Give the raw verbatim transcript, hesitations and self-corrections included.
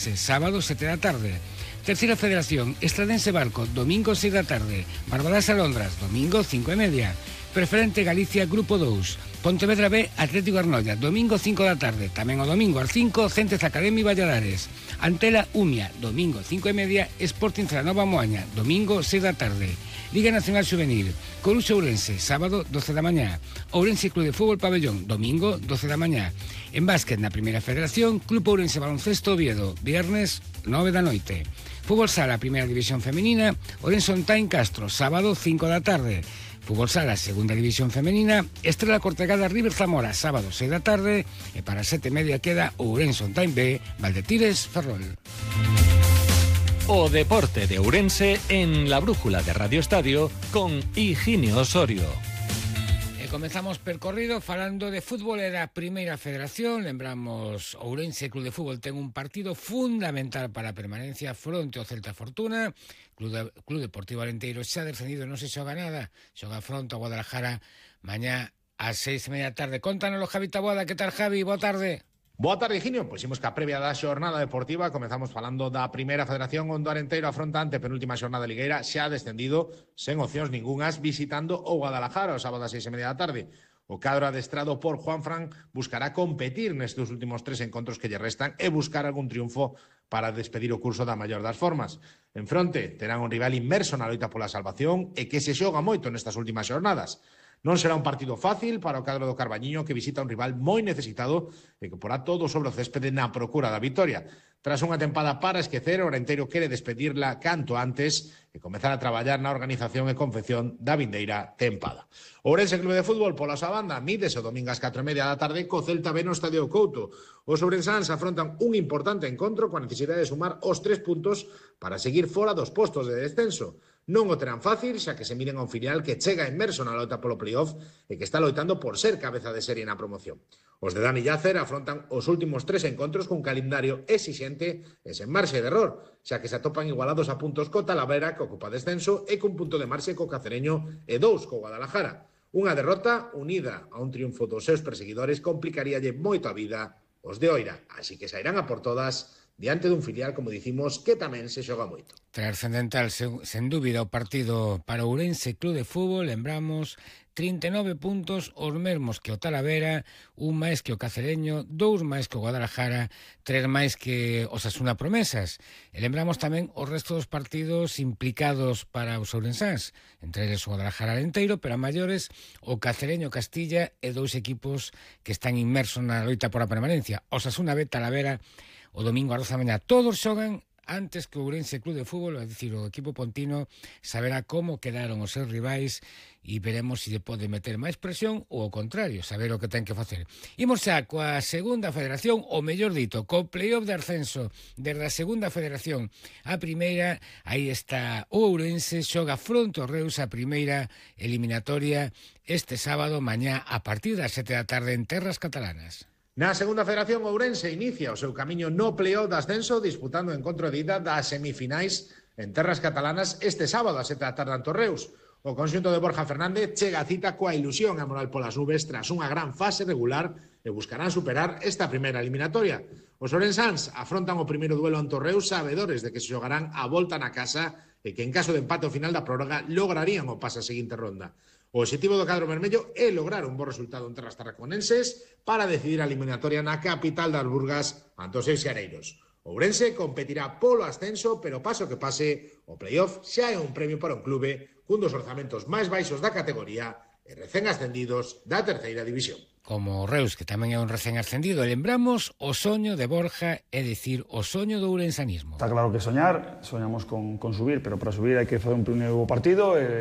Sábado sete da tarde. Terceira Federación, Estradense Barco, domingo seis da tarde. Barbadas Alondras, domingo cinco e media. Preferente Galicia, Grupo dous. Pontevedra B, Atlético Arnoia, domingo cinco da tarde. Tamén o domingo ás cinco, Centes Academy Valladares. Antela Umia, domingo cinco e media. Sporting Celanova Moaña, domingo seis da tarde. Liga Nacional Juvenil, Coruxo Ourense, sábado doce da mañá. Ourense Club de Fútbol Pabellón, domingo doce da mañá. En básquet na Primeira Federación, Club Ourense Baloncesto Oviedo, viernes nove da noite. Fútbol Sala, Primeira División Femenina, Ourense On Time Castro, sábado cinco da tarde. Fútbol Sala, Segunda División Femenina, Estrela Cortegada River Zamora, sábado seis da tarde. E para sete e media queda Ourense On Time B, Valdetires Ferrol. O deporte de Ourense en la brújula de Radio Estadio con Higinio Osorio. E comezamos percorrido falando de fútbol e da Primeira Federación. Lembramos, Ourense Club de Fútbol ten un partido fundamental para a permanencia fronte ao Celta Fortuna. Club, de, Club Deportivo Alenteiro xa descendido, non se xoga nada. Xoga fronte ao Guadalajara mañá ás seis e media da tarde. Contanoslo, Javi Taboada. Que tal, Javi? Boa tarde. Boa tarde, Higinio. Pois imos que a previa da xornada deportiva comezamos falando da Primeira Federación, onde o Arenteiro afronta ante penúltima xornada ligueira xa descendido sen opcións ningunhas visitando o Guadalajara o sábado ás seis e media da tarde. O cadro adestrado por Juanfran buscará competir nestes últimos tres encontros que lle restan e buscar algún triunfo para despedir o curso da maior das formas. En fronte terán un rival inmerso na loita pola salvación e que se xoga moito nestas últimas xornadas. Non será un partido fácil para o cadro do Carballiño, que visita un rival moi necesitado e que porá todo sobre o céspede na procura da vitoria. Tras unha tempada para esquecer, o Arenteiro quere despedirla canto antes e comezar a traballar na organización e confección da vindeira tempada. O Ourense Club de Fútbol, pola súa banda, mídese o domingo ás catro e media da tarde co Celta B no Estadio Couto. Os ourensáns afrontan un importante encontro coa necesidade de sumar os tres puntos para seguir fora dos postos de descenso. Non o terán fácil, xa que se miren a un filial que chega inmerso na loita polo playoff e que está loitando por ser cabeza de serie na promoción. Os de Dani Llacer afrontan os últimos tres encontros con calendario exixente e sen marxe de error, xa que se atopan igualados a puntos co Talavera, que ocupa descenso, e cun punto de marxe co Cacereño e dous co Guadalajara. Unha derrota unida a un triunfo dos seus perseguidores complicaríalle moito a vida os de Oira, así que sairán a por todas diante dun filial, como dicimos, que tamén se xoga moito. Trascendental, sen, sen dúbida, o partido para o Ourense Club de Fútbol. Lembramos, trinta e nove puntos, os mesmos que o Talavera, un máis que o Cacereño, dous máis que o Guadalajara, tres máis que os Asuna Promesas. E lembramos tamén os restos dos partidos implicados para os ourensáns, entre eles o Guadalajara Alenteiro, pero a maiores o Cacereño Castilla e dous equipos que están inmersos na loita por a permanencia, os Asuna B, Talavera. O domingo a doce da mañá todos xogan antes que o Ourense Club de Fútbol, é dicir, o equipo pontino saberá como quedaron os seus rivais e veremos se lle pode meter máis presión ou ao contrario, saber o que ten que facer. Imos xa coa Segunda Federación, ou mellor dito, co playoff de ascenso desde a Segunda Federación a Primeira. Aí está o Ourense, xoga fronte ao Reus a primeira eliminatoria este sábado mañá a partir das sete da tarde en terras catalanas. Na Segunda Federación, Ourense inicia o seu camiño no playoff de ascenso disputando o encontro de ida das semifinais en terras catalanas este sábado a sete da tarde ante o Reus. O conxunto de Borja Fernández chega a cita coa ilusión e moral polas nubes tras unha gran fase regular e buscarán superar esta primeira eliminatoria. Os ourensáns afrontan o primeiro duelo ante o Reus sabedores de que se xogarán a volta na casa e que en caso de empate ao final da prórroga lograrían o pase a seguinte ronda. O objetivo do cadro vermello é lograr un bo resultado en terras tarraconenses para decidir a eliminatoria na capital das Burgas ante os seus xareiros. Ourense competirá polo ascenso, pero paso que pase, o playoff xa é un premio para un clube cun dos orzamentos máis baixos da categoría e recén ascendidos da terceira división. Como o Reus, que tamén é un recén ascendido, lembramos o soño de Borja, é dicir, o soño do ourensanismo. Está claro que soñar, soñamos con, con subir, pero para subir hai que fazer un primeiro partido e